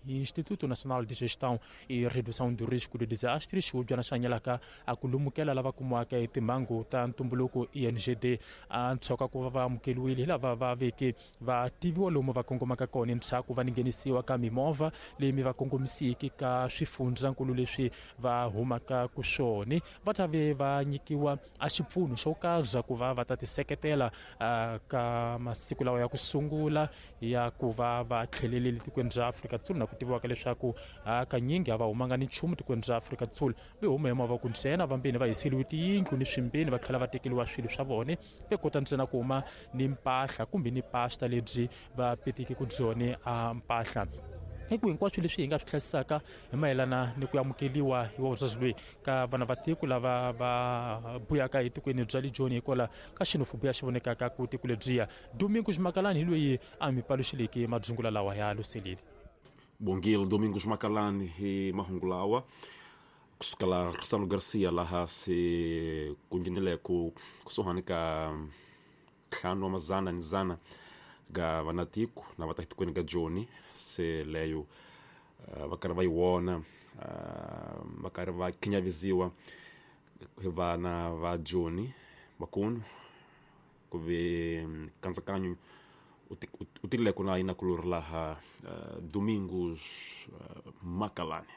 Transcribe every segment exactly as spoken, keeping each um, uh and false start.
Instituto Nacional de Gestão e Redução do Risco de Desastres Xihubyana xa hanyelaka a ku lumukela lava kumiwaka hi timhangu ta ntumbuluko E N G D a ntshoka ku va va amukeliwile hi lava va veke va tiviwa lomu va kongomaka kona ndzhaku va nghenisiwa ka mimovha leyi mi va kongomisiki ka swifundzankulu leswi va humaka ku swona va ta ve va nyikiwa a xipfuno xo karhi ku va va ta tiseketela ka masiku lawa ya ku sungula ya ku va va tlhelelile tikweni ra Afrika-Dzonga na ku tiviwaka leswaku hakanyingi a va humanga ni nchumu tikweni ra Afrika-Dzonga ve huma hi mavoko ntsena vambeni va hiseriwe tiyindlu ni swimbeni va tlhela va tekeriwa swilo swa vona ve kota ntsena ku huma ni mpahla kumbe ni pasta lebyi va petiki ku byone a mpahla. Hi ku hinkwaswo leswi hi nga swi hlayisaka hi mayelana ni ku amukeriwa hi vavasati loyi ka vana va tiko lava va buyaka etikweni bya le Joni hikwalaho ka xenophobia xi vonekaka ku tiko lebyiya. Domingos Makalani hi loyi a mi paluxileke madzungula lawa ya luselile. Bongile Domingos Makalani hi mahungu lawa kusuka la Rissano Garcia laha se ku nghenele ku kusuhani ka ntlhanu wa mazana ni zana ga vanatiko na va ta tikweni ga Joni se leyo uh, va karhi va yi vona uh, va karhi va khinyavisiwa hi vana va Joni vakulu ku ve nkatsakanyo u tikile ku na yina kulori laha uh, Domingos uh, Makalani.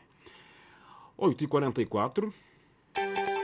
oito e quarenta e quatro.